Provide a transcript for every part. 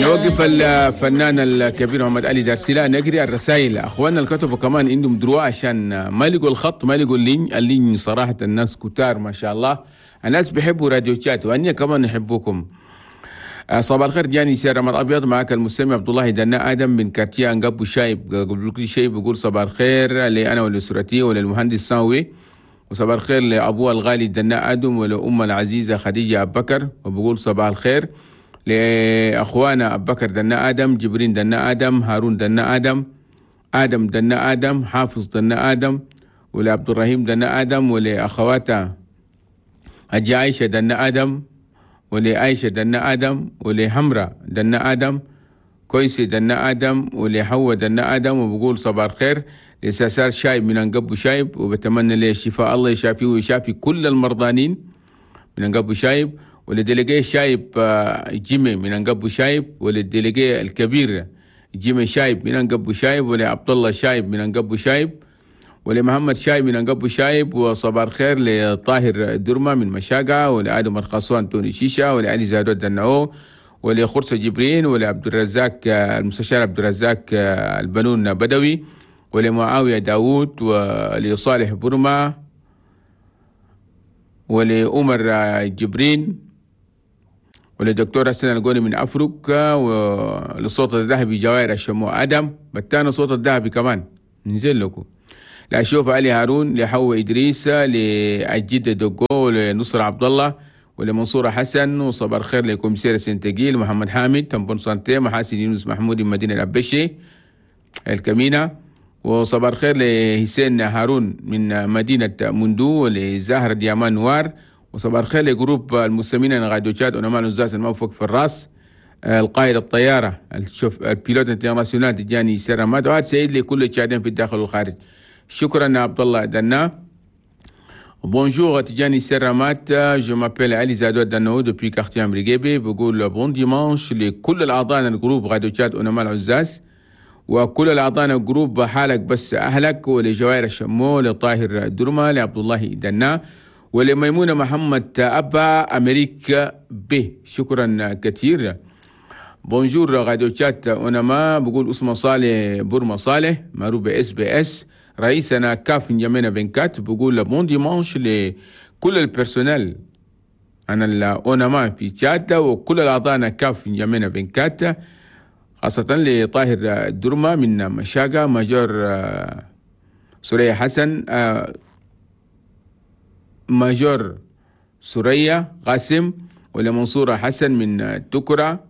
نوقف الفنان الكبير محمد علي دارسيلا، نقري الرسائل. اخواننا اللي كتبوا كمان عندهم droit عشان ما لقوا الخط، ما لقوا ال ligne. ال ligne صراحة الناس كتار ما شاء الله، الناس بيحبوا راديو تشاد وأني كمان نحبكم. صباح الخير جاني سير رمضان ابيض، معك المستمع عبد الله دنا ادم من quartier انقب الشايب. قبل كل شيء بقول صباح الخير لي انا ولاسرتي وللمهندس ساوي، وصباح الخير لابوه الغالي دنا ادم ولأم العزيزة خديجة ابو بكر، وبقول صباح الخير لاخوانا ابو بكر دنا ادم، جبرين دنا ادم، هارون دنا ادم، ادم دنا ادم، حافظ دنا ادم، ولعبد الرحيم دنا ادم، ولاخواته حجة عائشة دنا ادم، ولعائشة دنا آدم، ولهمرة دنا آدم، كويسي دنا آدم، ولحوة دنا آدم. وبقول صباح الخير لساسار شايب من أنقب شايب، وبتمنى له الشفاء، الله يشافيه ويشافي كل المرضانين من أنقب شايب. ول délégué شايب جيمي من أنقب شايب، ولل délégué الكبير جيمي شايب من أنقب شايب، ولعبد الله شايب من أنقب شايب، ولمحمد شايب من أنقبو شايب. وصباح الخير لطاهر درمة من مشاقة، ولآدم الخصوان توني شيشة، ولعلي زادود دنعو، ولخرسة جبرين، ولعبد الرزاق المستشار عبد الرزاق البنون بدوي، ولمعاوية داوود، ولصالح برمة، ولأمر جبرين، ولدكتور حسن القوني من أفريقيا، وللصوت الذهبي جوائر الشمو آدم بتانا صوت الذهبي كمان ننزل لكم. لأشوف علي هارون، لحو إدريس، لأجد دوغو، لنصر عبد الله، ولمنصور حسن. وصباح الخير ل commissaire سنتجيل، محمد حامد en bonne santé، محاسن يونس محمود من مدينة الأبشي الكمينة. وصباح الخير لحسين هارون من مدينة مندو، ولزهرة ديامان نوار. وصباح الخير ل groupe المستمعين راديو تشاد ونمان الزاز الموفق في الراس، القائد الطيارة ال pilote international تجاني سرماد. وهذا سعيد لكل التشادين في الداخل والخارج. شكرا عبد الله دنا. Bonjour Tidjani Serramat, je m'appelle Ali Zado Dano depuis quartier أمريكيبي. بقول bon dimanche لكل الأعضاء ال groupe راديو تشاد ونمال عزاز، وكل الأعضاء ال groupe حالك بس أهلك، ولجوائر الشمو، لطاهر درمة، لعبد الله دنا، ولميمونة محمد أبا أمريكا به. شكرا كثير. Bonjour راديو تشاد ونما، بقول اسمه صالح برما صالح معروف SBS رئيسنا CAF نجمينا vingt-quatre. بقول bon dimanche لكل ال personnel انا الاونما في تشاد وكل الاعضاء CAF نجمينا vingt-quatre، خاصة لطاهر الدرمة من مشاقة، major سوريا حسن، major سوريا قاسم، ولمنصورة حسن من تكرة،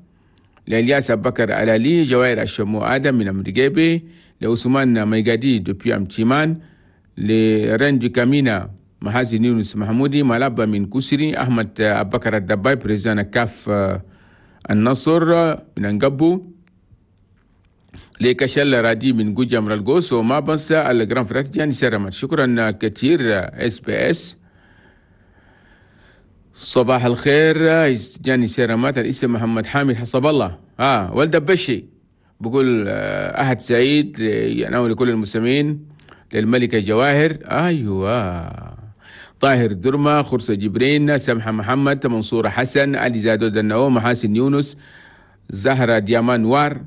لإلياس أبو بكر ألالي، جوائر الشمو آدم من أمريكيبي، لعثمان ميقادي depuis أمتيمان، لرندي كامينا محاسن يونس محمودي ملابا من كسري، أحمد أبو بكر الدباي président CAF النصر من أنقبو، لكشل رادي من جوجا مرالجوس، وما بنسى ال grand frère جاني سيرامات. شكرا كثير SBS. صباح الخير جاني سيرامات. الاسم محمد حامد حسب الله ولد بشي، بقول أحد سعيد يعني لكل المستمعين، للملكة جواهر، أيوة، طاهر درمة، خرسة جبرين، سمحة محمد، منصورة حسن، علي زادو دنو، محاسن يونس، زهرة ديامان وار،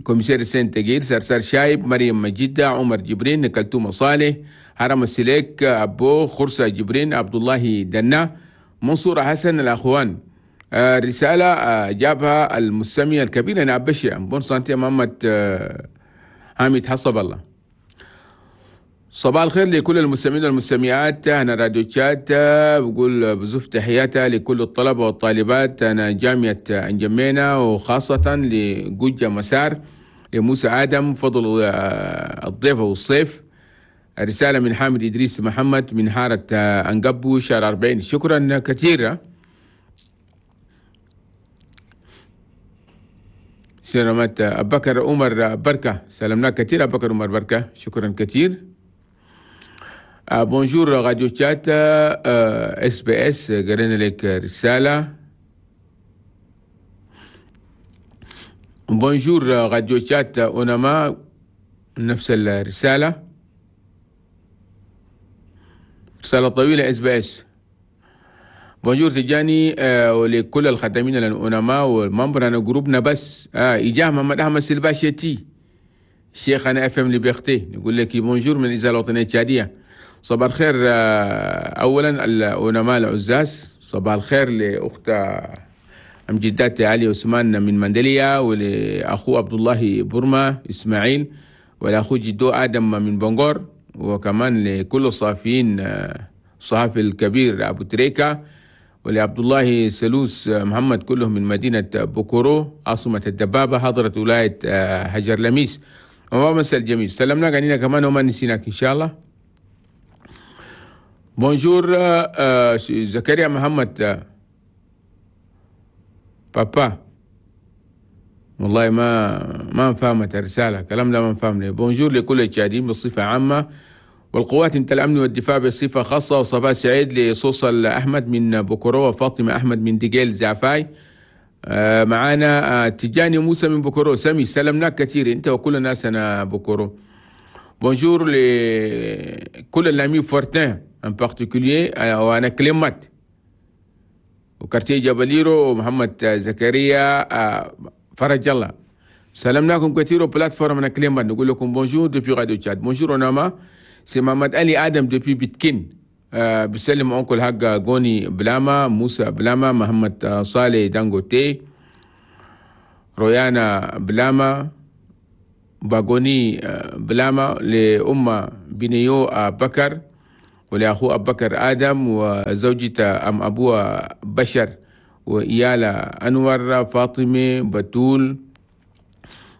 commissaire سين تجير، سرسار شايب، مريم مجدة، عمر جبرين، كلتومة صالح، هرم السليك، أبو خرسة جبرين، عبد الله دنا، منصورة حسن، الأخوان. رسالة جابها المستمع الكبير أنا أبشي bonne santé محمد حامد حسب الله. صباح الخير لكل المستمعين والمستمعات هنا راديو تشاد. بقول بزف تحياتها لكل الطلبة والطالبات أنا جامعة أنجمينا، وخاصة لجوجة مسار، لموسى آدم، فضل الضيفة والصيف. رسالة من حامد إدريس محمد من حارة أنقبو شارع 40. شكرا كثيرا. سلامات أبو بكر عمر بركة، سلامنا كثير أبو بكر عمر بركة، شكرا كثير. Bonjour راديو تشات SBS، قرينا لك رسالة. Bonjour راديو تشات أونما، نفس الرسالة، رسالة طويلة SBS. Bonjour تجاني ولكل الخدمين العلماء وال membres انا groupe نا بس إجاه محمد أحمد سلباشيتي شيخنا FM Liberté، نقول لك bonjour من الإذاعة الوطنية التشادية. صباح الخير أولا العلماء العزاز، صباح الخير لأخت أم جدات علي عثمان من مندليا، ولأخو عبد الله برما إسماعيل، ولأخو جدو آدم من بنغور، وكمان لكل الصحفيين الصحفي الكبير أبو تريكا، ولعبد الله سلوس محمد، كلهم من مدينة بوكورو عاصمة الدبابة حضرة ولاية هجر لميس. وما مساء الجميل، سلمنا علينا كمان وما نسيناك إن شاء الله. Bonjour زكريا محمد بابا، والله ما فهمت الرسالة، كلام ده ما فهم لي. Bonjour لكل التشاديين بصفة عامة والقوات انت الأمن والدفاع بصفة خاصة، وصباح سعيد لصوصل أحمد من بوكورو وفاطمة أحمد من ديجيل زعفاي. معانا تجاني موسى من بوكورو، سمي سلمناك كثير انت وكل الناس انا بوكورو. Bonjour لكل ال amis فورتين en particulier وانا كلمات و quartier جبليرو ومحمد زكريا فرج الله، سلمناكم كثير. و plateforme انا كلمات نقول لكم bonjour depuis راديو تشاد. Bonjour اوناما، c'est محمد علي ادم depuis بيتكين، بسلم oncle حق غوني بلاما، موسى بلاما، محمد صالح دانغوتي، رويانا بلاما، باغوني بلاما، لأمة بنيو بكر، ولأخوه أبو بكر آدم، وزوجته أم أبوه بشر، وإيالا أنور، فاطمة بتول،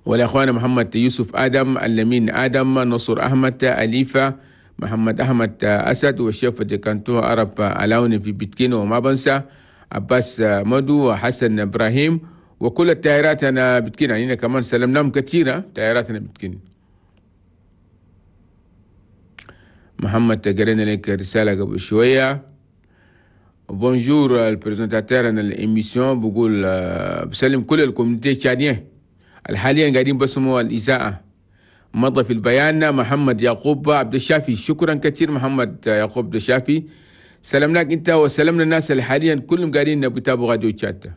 والأخوان محمد يوسف آدم، اللمين آدم، نصر أحمد، أليفة محمد أحمد أسد، وال chef de canton عرب علاوني في بيتكين، وما بنسى عباس مدو وحسن إبراهيم وكل التايرات أنا بتكين. يعني كمان سلمناهم كثيرة تايرات أنا بتكين. محمد قرينا لك رسالة قبل شوية. Bonjour ال présentateur أنا ال émission، بقول بسلم كل ال communauté التشادية الحاليا قاعدين بسموا الإذاعة. مضى في البيان محمد يعقوب عبد الشافي، شكرا كثير محمد يعقوب عبد الشافي، سلمناك انت وسلمنا الناس اللي حاليا كلهم قاعدين بيتابعوا راديو تشاد.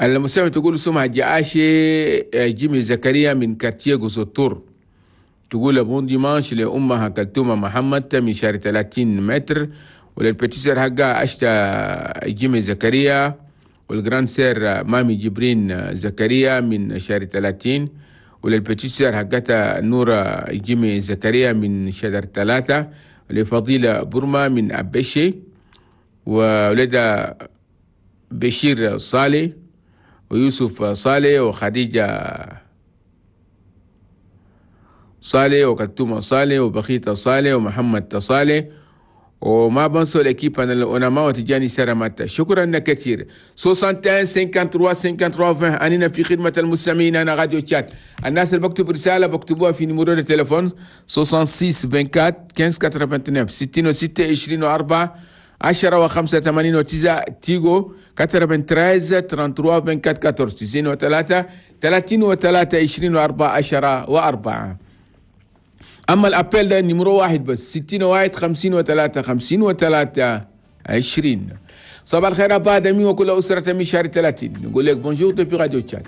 المستمع تقول سمعة جعاشي جيمي زكريا من quartier غوسوتور، تقول bon dimanche لأمها كلتومة محمد من شارع 30 متر، ولل petite sœur حقها أشتا جيمي زكريا، وال grande sœur مامي جبرين زكريا من شارع 30، ولل petite sœur حقتها نورة جيمي زكريا من شجر 3، لفضيلة برما من أبشي، وولد بشير صالح ويوسف صالح وخديجة صالح وكتومة صالح وبخيتة صالح ومحمد صالح، وما بنسوا ال équipe انا العلماء وتجاني سرمات. شكرا كثير. 61 53 53 20 اننا في خدمة المستمعين. انا راديو تشاد. الناس اللي بكتب رسالة بكتبوها في numéro التليفون 66 24 15 89 66 24 10 و5 89 تيغو 93 33 24 14 93 33 24 10 و4. اما ال appel ده numéro واحد بس 61 53 53 20. صباح الخير ابا دمي وكل اسرة من شهر 30. نقول لك bonjour depuis راديو تشاد.